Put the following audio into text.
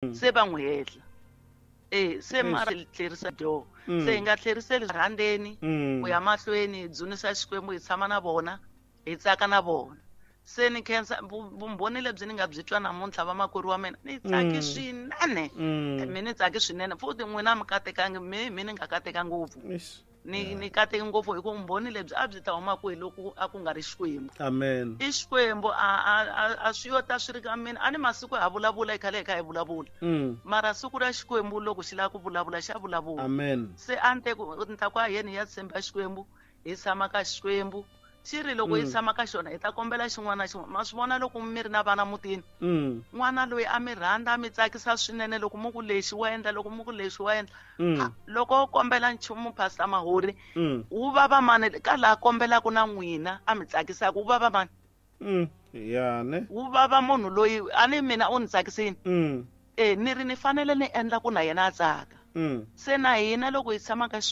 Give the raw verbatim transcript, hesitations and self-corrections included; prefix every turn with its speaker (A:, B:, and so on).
A: Se va n'wi hehla e se mara tlherisa dyo
B: Mm.
A: se hi nga tlheriseli rhandeni
B: Mm.
A: ku ya mahlweni hi dzunisa Xikwembu, hi tshama na vona, hi tsaka na vona. Se ni khensa vu- vumbhoni lebyi ni nga byi twa namuntlha, vamakwerhu wa mina, ni tsaki
B: Mm.
A: swinene.
B: Mm.
A: Mi ni tsaki swinene futhi n'wina mi katekangi, mi mi ni nga kateka ngopfu.
B: Eish.
A: Ni ni kateki ngopfu hi ku vumbhoni lebyi a byi ta huma kwihi loko a ku nga ri Xikwembu?
B: Amen.
A: I Xikwembu. a a a- a swi yo ta swi ri ka mina. A ni masiku ha vulavula, hi khale hi kha hi vulavula,
B: Mm.
A: mara siku ra Xikwembu loko xi lava ku vulavula, xa vulavula.
B: Amen.
A: Se a ni te ku ni ta ku a yeni hi ya tshemba Xikwembu, hi tshama ka Xikwembu. Xi ri loko hi
B: Mm.
A: tshama ka xona, hi ta kombela xin'wana na xin'wana. Ma swi vona loko mi ri na vana mutini,
B: Mm.
A: n'wana loyi a mi rhandza, a mi tsakisa swinene, loko mu ku lexi wa endla, loko mu ku lexi wa endla.
B: Mm.
A: Loko o kombela nchumu, Pastor Mahori,
B: Mm.
A: wu vava mani ka laha kombelaka na n'wina a mi tsakisaka? Wu vava mani?
B: Mm. Ya ne.
A: Wu vava munhu loyi a ni mina u ni tsakisini.
B: Mm.
A: E ni ri ni fanele ni endla ku na yena a tsaka.
B: Mm.
A: Se na hina loko hi tshama ka